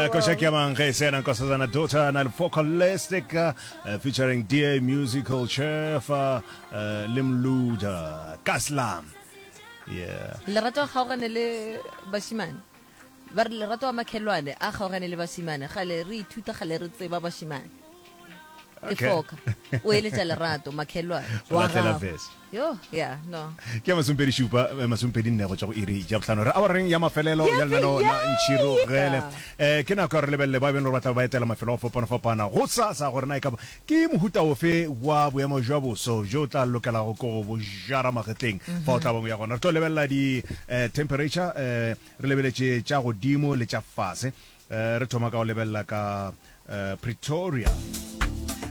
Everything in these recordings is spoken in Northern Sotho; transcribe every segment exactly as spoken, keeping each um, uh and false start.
Uh, Koša ke mang ge se ena Nkosazana Daughter na le Focalistic uh, featuring D A Musical Chef uh, uh, le Mluda Kaslam. Yeah. Lerato a kgaogane le bašimane. Ba re lerato wa makhelwane a kgaogane le bašimane. Gale re ithuta gale re tseba bašimane. Ke Okay. foka. O eletša lerato makhelwane. O Wa lahlela gago. verse. Yo, yeah, no. Ke ya masomepedi šupa, eh, masomepedi nne go tšwa go iri ya bohlano. Re awareng ya mafelelo ya lenaneo la Ntšhirogele. Eh, ke nako ya gore re lebelele ba e beng gore ba tla be ba etela mafelo a go fapana-fapana go sasa gore na e ka ba ke mohuta ofe wa boemo jwa boso bjo o tla lokelago ke go bo jara magetleng fa o tla bang o ya gona. Re tlo lebelela di eh, temperature, eh, re lebeletše tša godimo le tša fase. Eh, re thoma ka go lebelela ka eh, Pretoria.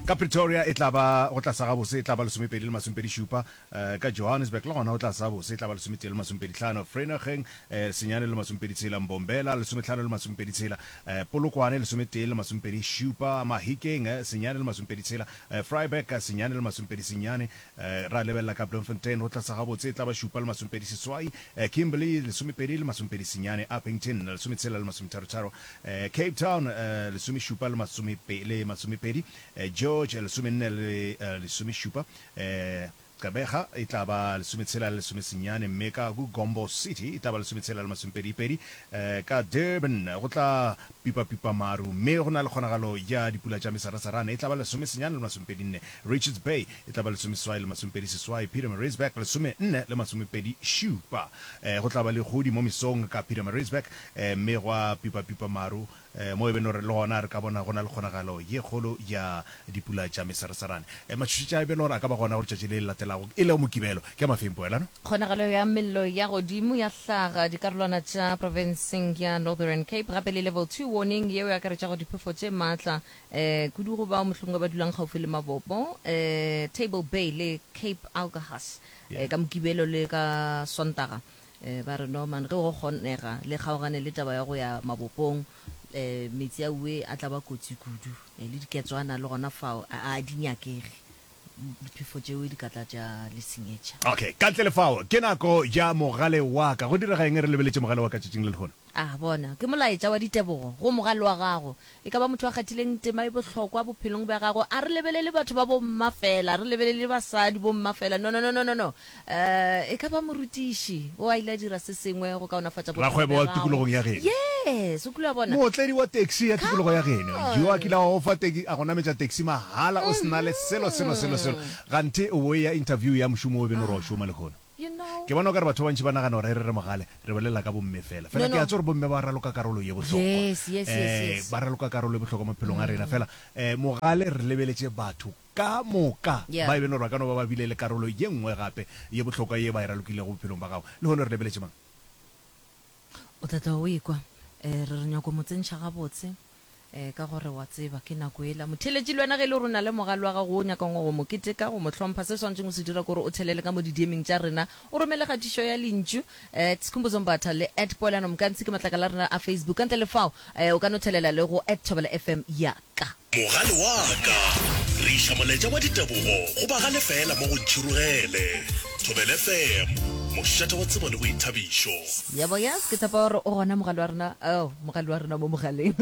Ka Pretoria e tla ba go tla sa gabose e tla ba lesomepedi le masomepedi šupa, eh, ka Johannesburg le gona go tla sa bose e tla ba lesometee le masomepedi hlano, Vereeniging eh, senyane le masomepedi tshela, Mbombela lesomehlano le masomepedi tshela, eh, Polokwane lesometee le masomepedi šupa, Mahikeng eh, senyane le masomepedi tshela, eh, Vryburg senyane le masomepedi senyane, eh, ra lebelela ka Bloemfontein go tla sa gabotse e tla ba šupa le masomepedi seswai, eh, Kimberley lesomepedi le masomepedi senyane, Upington lesometshela le masometharo-tharo, eh, Cape Town eh, lesomešupa le masomepe, le masomepedi, eh, George lesomenne le eh, lesomešupa, eh, Gqeberha e tla ba lesometshela le lesomesenyane, mme ka Gombo City e tla ba lesometshela le masomepedi-pedi, eh, ka Durban go tla pipa-pipa maru mme go na le kgonagalo ya dipula tša mesarasarane e tla ba lesomesenyane le masomepedi-nne, Richards Bay e tla ba lesomeseswai le masomepedi-seswai, Pietermaritzburg lesomenne le masomepedi-šupa. Eh, go tla ba le godi mo mesong ka Pietermaritzburg, eh, mme gwa pipa-pipa maru eh, mo e beno re le gona re ka bona go na le kgonagalo ye kgolo ya dipula tša mesarasarane. Eh, matšhošetši a e beno gore a ka ba gona go letšatši le le latelago e lego Mokibelo. Ke a mafeng poelano? Kgonagalo ya mello ya godimo ya hlaga dikarolwana tša profenseng ya Northern Cape gape le level two warning yeo e akaretšago diphefo tše maatla eh, kudu go bao mohlomongwe ba dulang kgaufsi le mabopo eh, Table Bay le Cape Agulhas eh, Yeah. ka Mokibelo le ka Sontaga. Eh, ba re no man ge go kgonega le kgaogane le taba ya go ya mabopong eh, metsi a uwe a tla ba kotsi kudu eh, le diketswana le gona fao a a di nyakege, diphefo tšeo di ka tla tša le senyetša. Okay, ka ntle le fao ke nako ya mogale wa ka. Go direga eng re lebeletše mogale wa ka tšatšing le lehono? A bona, ke molaetša wa ditebogo go mogale wa gago. E ka ba motho a kgathileng tema e bohlokwa bophelong bja gago. A re lebelele batho ba bomma fela, a re lebelele basadi bomma fela. No, no, no, no, no, no. Eh, e ka ba morutiši o a ile a dira se sengwe go kaonafatša bophelo Rakgwebo bja wa gago. tikologong ya geno. Yes, o kile wa bona. Mootledi wa taxi ya tikologo Come ya geno yo a on. kile a go fa taxi, a go nametša taxi mahala o se na le selo, selo, selo, selo. Ganthe o bo eya interview ya mošomo o beno gore wa šoma lehono. You know. Ke bona o ka re batho ba bantši ba nagana gore ge re re mogale re bolela ka bomme fela. No, Fela ke a no. tseba gore bomme ba raloka karolo ye bohlokwa. Yes, yes, yes, Eh, yes. ba raloka karolo ye bohlokwa maphelong a rena. Fela eh, mogale re lebeletše batho ka moka Yeah. ba e beno gore ba ka no ba ba bile le karolo ye nngwe gape ye bohlokwa ye ba e ralokilego bophelong ba gago. Lehono re lebeletše mang? O tla tla o ekwa eh, re re nyako mo tsentšha gabotse eh, ka gore wa tseba ke nako ela. Motheeletši le wena ge e le gore o na le mogale wa gago wo o nyakang go mo keteka, go mo hlompha, se swanetšeng go se dira ke gore o thelele ka mo di-D M-eng tša rena, o romele kgatišo ya lentšu at Skhumbuzo Mbatha le at Poelano Mokantsi ke matlakala a rena a Facebook. Ka ntle le fao eh, o ka no thelela le go at Thobela F M ya ka. Mogale wa ka. Re iša molaetša wa ditebogo go bagale fela mo go Ntšhirogele. Thobela F M, mošate wa tsebo le boithabišo. Yebo, yes, ke tshepa gore o gona mogale wa rena, oh, mogale wa rena mo mogaleng.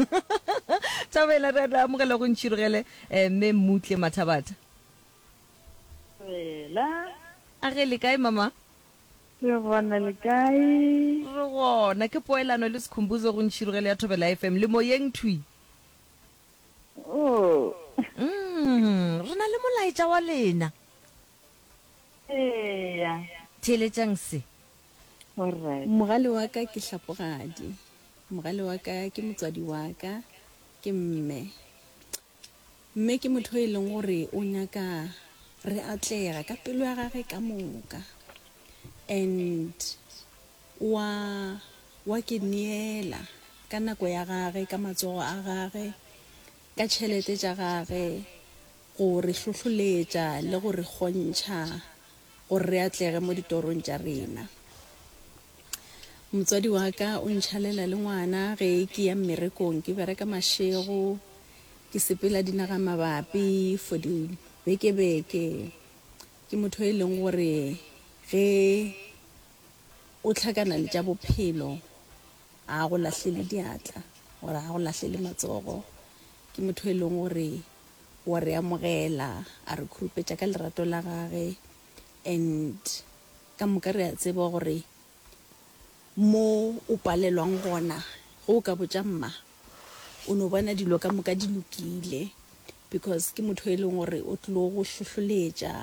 Thobela, re re amogela go Ntšhirogele, eh, mme Mmutle Mathabatha. Thobela. A ge le kae mama? Re gona, le kae? Re gona, ke poelano le Skhumbuzo go Ntšhirogele ya Thobela F M, le moyeng thwi. Oh. Mm, re na le molaetša wa lena. Eya. Theeletšang se. Alright. Mogale wa ka ke hlapogadi. Mogale wa ka ke motswadi wa ka, ke mme. Mme ke motho e leng gore o nyaka re atlega ka pelo ya gage ka moka. And wa, wa ke neela ka nako ya gage, ka matsogo a gage, ka tšhelete tša gage, go re hlohloletša le go re kgontšha gore re atlege mo ditorong tša rena. Motswadi wa ka o ntšhalela le ngwana ge ke ya mmerekong, ke bereka mašego, ke sepela dinaga mabapi for dibekebeke. Ke motho e leng gore ge o hlakana le tša bophelo a go lahlele diatla, gore ga go lahlele matsogo. Ke motho e leng gore wa re amogela, a re khurupetša ka lerato la gage and ka moka re a tseba gore mo o palelwang gona ge o ka botša mma o no bona dilo ka moka di lokile because ke motho e leng gore o tlilo go hlohloletša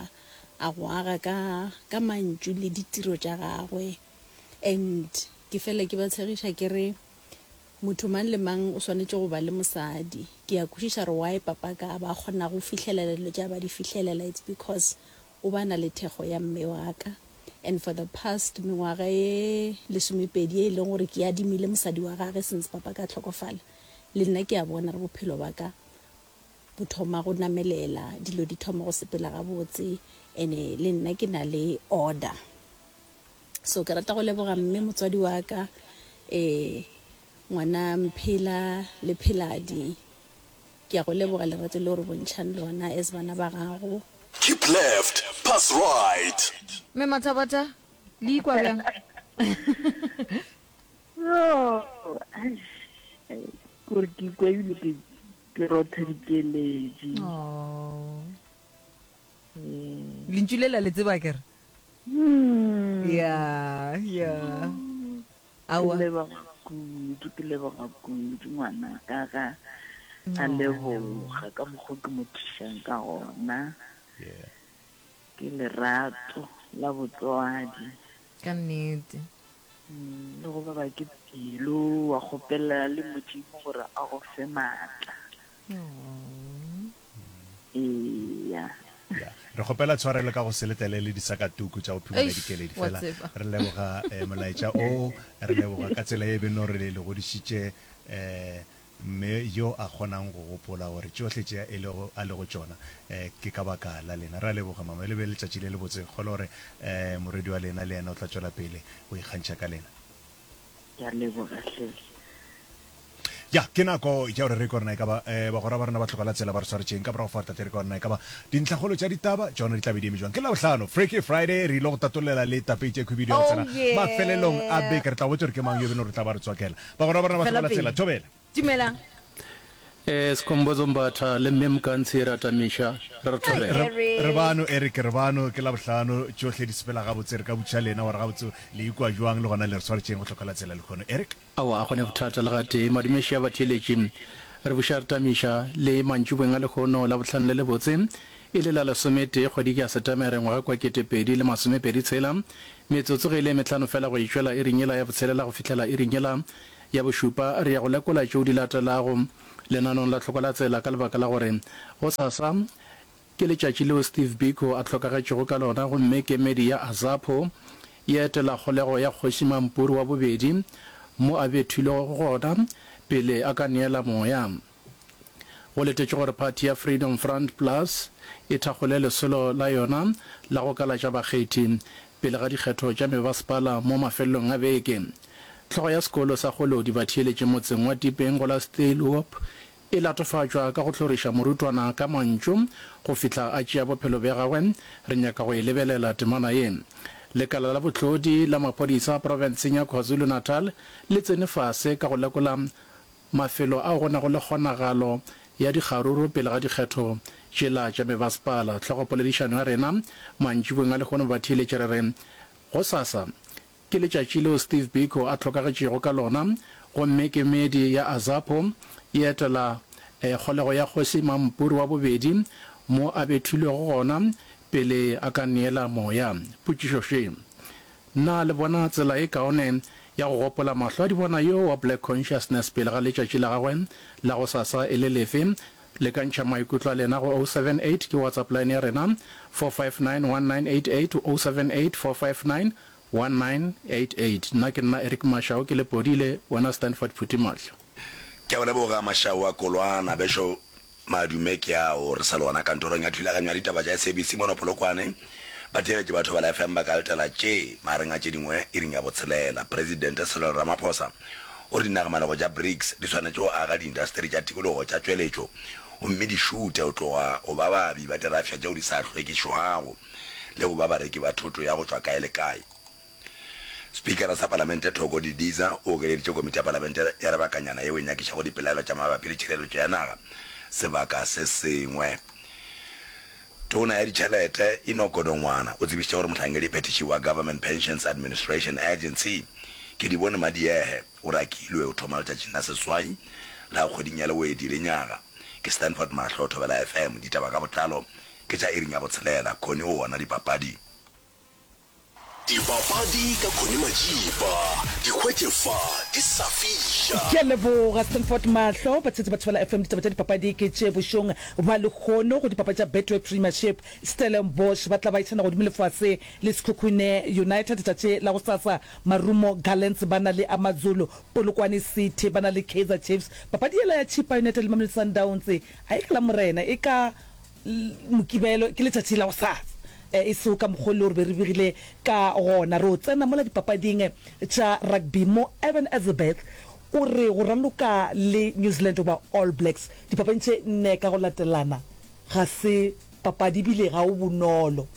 a go aga ka ka mantšu le ditiro tša gagwe and ke fela ke ba tshegiša ke re motho mang le mang o swanetše go ba le mosadi ke a kwešiša gore why papa ka ba kgona go fihlelela dilo tša ba di fihlelela it's because o ba na le thekgo ya mme wa ka and for the past mengwaga ye lesomepedi ye e leng gore ke adimile mosadi wa gage since papa ka hlokofala le nna ke a bona re bophelo ba ka bo thoma go namelela dilo di thoma go sepela gabotse ene le nna ke na le order so ke rata go leboga mme motswadi wa ka um ngwana mphela le pheladi ke a go leboga lerato le gore bontšhang lona as bana ba gago Keep left, pass right. Mme Mathabata, le ikwa bjang? Yo, eish, kore ke ikwa ebile ke ke rotha dikeledi. Oh. Ee. Lentšu le la le tseba kere? Hmm. Ya, ya. Ke Aowa. leboga kudu, ke leboga kudu ngwana ka ga a leboga ka mokgwa ke mo thušang ka gona. Yeah. Ke lerato la botswadi. Ka nnete. Mm, le go baba ke pelo wa kgopela le Modimo gore a go fe maatla. Eya. Ya, re kgopela tshwarelo ka go se letele le disakatuku tša go phimola Eish, dikeledi wa fela tseba. re leboga eh, molaetša o re leboga ka tsela ye beno re le godišitše eh, mme yo a kgonang go gopola gore tšohle tše e lego a lego tšona eh, ke ka baka la lena. Re a leboga mama, le be le letšatši le lebotse. Kgolwa gore eh, morwedi wa lena le yena o tla tšwela pele go ikgantšha ka lena. Ke a leboga hle. Ya, ke nako ya gore re kwe gore na e ka ba eh, bagwera ba rena ba tlogela tsela ba re swaretšeng. Ka morago fa re tla tle re kwe gore na e ka ba dintlhakgolo tša ditaba tšona di tla be di eme jwang. Ke Labohlano, Freaky Friday, re ile go tatollela le tapeitše khwibidu ya go Oh tsena mafelelong a yeah. beke. Re tla botša gore ke mang yo e beno re tla ba re tswakela. Bagwera ba rena ba Fela tlogela tsela, pele. thobela. Dumelang. Eh, Skhumbuzo Mbatha le Mme Mokantshi re atamiša, re re Hi, thobela. Re, re Eric. bano, Eric, re bano, ke Labohlano, tšohle di sepela gabotse. Re ka botšiša lena gore gabotse le ikwa jwang le gona le re swaretšeng go tlogela tsela lehono. Eric? Aowa, a go ne bothata le gatee. Madumeši a batheeletši. Re buša re tamiša le mantšiboeng a lehono, Labohlano le lebotse, e le la lesometee kgwedi ke ya Setemere ngwaga kwa kete pedi le masomepedi tshela, metsotso ge e le e mehlano fela go e tšwela iring yela ya botshelela go fihlela iring yela ya bošupa. Re ya go lekola tšeo di latelago lenaneong la Tlhokolatsela ka lebaka la gore gosasa Ke letšatši leo Steve Biko a hlokagetšego ka lona gomme kemedi ya AZAPO e etela kgolego ya Kgoši Mampuru wa bobedi mo a bethilwego gona pele a ka neela moya. Go letetšwe gore phathi ya Freedom Front Plus e thakgole lesolo la yona la go kalatša bakgethi pele ga dikgetho tša mebasepala mo mafelelong a beke. Hlogo ya sekolo sa Kgolodi Batheeletši motseng wa Tipeng go la Steelhoop E latofatšwa ka go hloriša morutwana ka mantšu go fihla a tšea bophelo bja gagwe. Re nyaka go e lebelela temana ye. Lekala la bohlodi la maphodisa profenseng ya KwaZulu-Natal le tsene fase ka go lekola mafelo ao go nago le kgonagalo ya dikgaruru pele ga dikgetho tšela tša mebasepala. Hlogopoledišano ya rena mantšiboeng a lehono batheeletši re re gosasa Ke letšatši leo Steve Biko a hlokagetšego ka lona, gomme kemedi ya AZAPO e etela kgolego ya Kgoši Mampuru wa bobedi mo a bethilwego gona pele a ka neela moya. Potšišo še, Na le bona tsela e kaone ya go gopola mahlo a dibona yo wa Black Consciousness pele ga letšatši la gagwe la gosasa e le lefe? Le ka ntšha maikutlo a lena go oh seven eight ke WhatsApp line ya rena, four five nine one nine eight eight, oh seven eight four five nine One nine eight eight Nna ke nna Eric Mashau ke Lepodile, wena Stanford Phuthimahlo. Ke a go leboga Mashau a Kolwana. Bešo madume ke ao re sa le gona kantorong ya thulaganyo ya ditaba tša S A B C mono Polokwane. Batheeletši ba Thobela F M ba ka letela tše magareng a tše dingwe iring ya botshelela. Presidente Cyril Ramaphosa o re dinagamalego tša BRICS di swanetše go aga diindasteri tša tikologo tša tšweletšo gomme di šuthe go tloga go ba baabi ba dirafša tšeo di sa hlwekišwago le go ba bareki ba thoto ya go tšwa kae le kae. Spikara sa Palamente Thoko Didiza o okeleditše komiti ya Palamente ya lebakanyana yeo e nyakišago dipelaelo tša mabapi le tšhireletšo ya naga sebaka se sengwe. Tona ya Ditšhelete Enoch Godongwana o tsebišitše gore mohlankedi-phethiši wa Government Pensions Administration Agency, Kedibone Madiehe, o rakilwe o thoma letšatšing la seswai la kgweding ya Lewedi lenyaga. Ke Stanford Mahlo, Thobela F M. Ditaba ka botlalo ke tša iring ya botshelela. Connie o gona dipapading. Dipapadi ka Connie Majiba, di hwetše fa di sa fiša. Ke a leboga Stanford Mahlo. Batsheetsi ba Thobela F M, ditaba tša dipapadi ke tše bošong bja lehono go dipapadi tša Betway Premiership. Stellenbosch ba tla ba išana godimo le fase le Sekhukhune United letšatši la gosasa. Marumo Gallants ba na le AmaZulu, Polokwane City ba na le Kaizer Chiefs. Papadi yela ya Chippa United le Mamelodi Sundowns ga e ka Lamorena, e ka Mokibelo, ke letšatši la gosasa. E sego ka mokgwa o le gore be re begile ka gona. Re o tsena mola dipapading tša rugby mo Eben Etzebeth o re go raloka le New Zealand goba All Blacks dipapading tše nne ka go latelana ga se papadi ebile ga o bonolo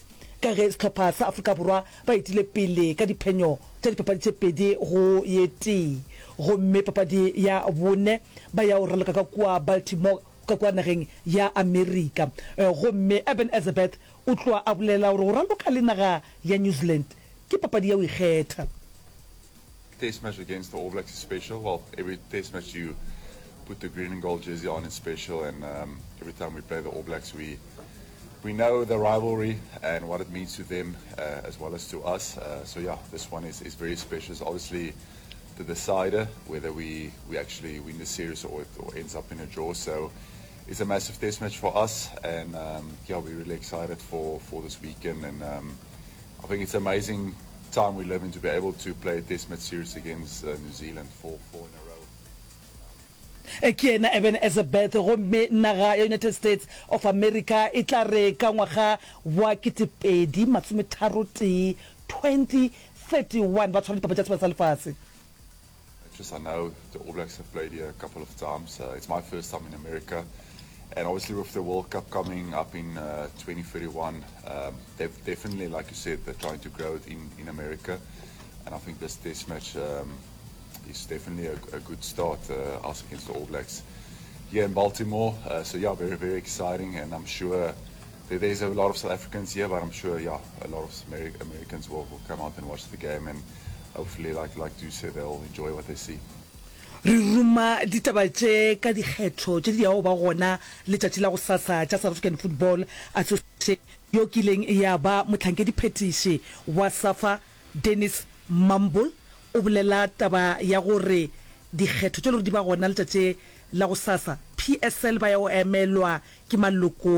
ka ge sehlopha sa Afrika Borwa ba etile pele ka diphenyo tša dipapadi tše pedi go ye tee gomme papadi ya bone ba ya go raloka ka kua Baltimore ka kua nageng ya Amerika. Gomme Eben Etzebeth o tloga a bolela gore go raloka le naga ya New Zealand ke papadi ya go ikgetha. Test match against the All Blacks is special. Well, every test match you put the green and gold jersey on is special, and um, every time we play the All Blacks, we we know the rivalry and what it means to them uh, as well as to us. Uh, so yeah, this one is, is very special. It's obviously the decider whether we, we actually win the series or it or ends up in a draw. So it's a massive test match for us, and um, yeah, we're really excited for, for this weekend. And um, I think it's amazing time we live in to be able to play a test match series against uh, New Zealand for four in a row. Ke yena Eben Etzebeth, gomme naga ya United States of America e tla re ka ngwaga wa ketepedi masometharo tee, twenty thirty one, ba tshwara dipapadi tša Sebata sa Lefase. Just I know the All Blacks have played here a couple of times. Uh, it's my first time in America. And obviously with the World Cup coming up in, uh, twenty thirty-one, um, they've definitely, like you said, they're trying to grow it in, in America. And I think this test match, um, is definitely a, a good start, uh, us against the All Blacks here in Baltimore. Uh, so yeah, very, very exciting. And I'm sure there, there's a lot of South Africans here, but I'm sure, yeah, a lot of Ameri-, Americans will, will come out and watch the game, and hopefully, like, like you said, they'll enjoy what they see. Re ruma ditaba tše ka dikgetho tše di yago ba gona letšatši la gosasa tša South African Football Association. Yo kileng ya ba mohlankediphethiši wa SAFA Dennis Mumble o bolela taba ya gore dikgetho tše le gore di ba gona letšatši la gosasa P S L ba ya go emelwa ke maloko